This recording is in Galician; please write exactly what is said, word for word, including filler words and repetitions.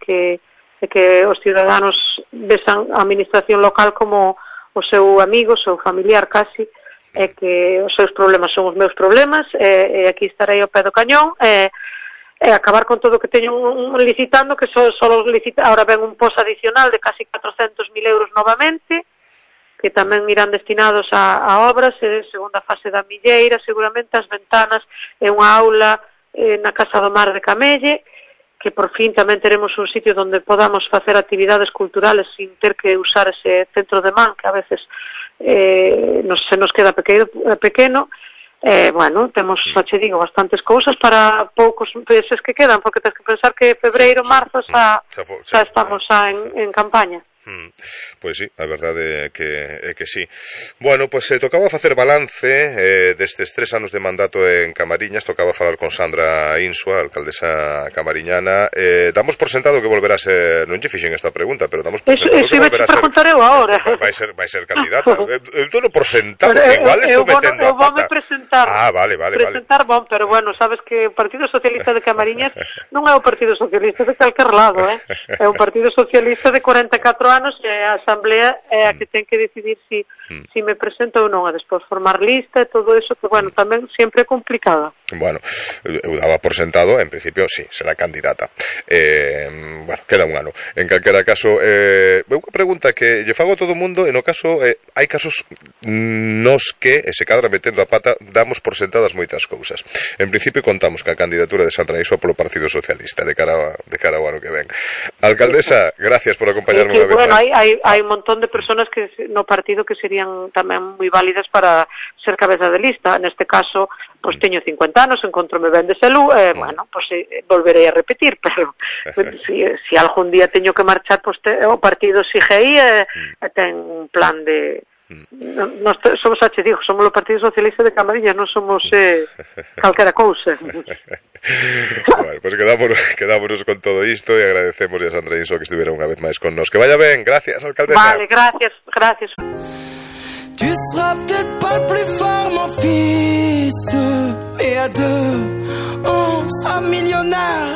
que, e que os ciudadanos vexan a administración local como o seu amigo, o seu familiar casi, e que os seus problemas son os meus problemas, e, e aquí estarei ao pé do cañón, e, e acabar con todo o que teño un, un licitando, que só, só licita, ahora ven un post adicional de casi catrocentos mil euros novamente, que tamén irán destinados a, a obras, e segunda fase da Milleira, seguramente as ventanas e unha aula eh, na Casa do Mar de Camelle, que por fin tamén teremos un sitio onde podamos facer actividades culturales sin ter que usar ese centro de man, que a veces eh, nos, se nos queda pequeno, pequeno. Eh, bueno, temos, xa che digo, bastantes cousas para poucos meses que quedan, porque tens que pensar que febreiro, marzo xa, xa estamos xa en, en campaña. Mm, pois sí, a verdade é que, é que sí. Bueno, pois pues, eh, tocaba facer balance eh, destes tres anos de mandato en Camariñas. Tocaba falar con Sandra Insua, alcaldesa camariñana. eh, Damos por sentado que volverá a ser, non lle fixen esta pregunta, pero damos por eso, sentado eso que volverá a ser eu agora. Vai ser, vai ser candidata. Eu dono por sentado, pero, que igual estou metendo eu a pata. Eu presentar, ah, vale, vale, presentar vale. Bon, pero bueno, sabes que o Partido Socialista de Camariñas non é o Partido Socialista de calquer lado, eh? É un Partido Socialista de cuarenta e catro anos, e a Asamblea é a que ten que decidir si, mm. si me presento ou non, a despois formar lista e todo eso, que bueno, tamén sempre é complicado. Bueno, eu daba por sentado, en principio, sí, será candidata. Eh, bueno, queda un ano. En calquera caso, eh, unha pregunta que lle fago a todo o mundo, e no caso, eh, hai casos nos que, e se cadra metendo a pata, damos por sentadas moitas cousas. En principio, contamos ca candidatura de Sandra Insua polo Partido Socialista de cara, a, de cara ao ano que ven. Alcaldesa, gracias por acompañarme sí, unha vez bueno, máis. Hai, hai, hai un montón de personas que no partido que serían tamén moi válidas para ser cabeza de lista. Neste caso, pois teño cincuenta anos, encontrome ben de salud, e, eh, bueno, pois eh, volverei a repetir, pero si, si algún día teño que marchar, pois te, o partido sigue aí e, e ten un plan de... Nos somos, xa te digo, somos o Partido Socialista de Camariñas, non somos eh, calquera cousa. Bueno, pois pues quedámonos, quedámonos con todo isto e agradecemos a Sandra Insua que estivera unha vez máis con nos. Que vaya ben, gracias, alcaldesa. Vale, gracias, gracias. Tu seras peut-être pas le plus fort, mon fils, mais à deux, on sera millionnaire.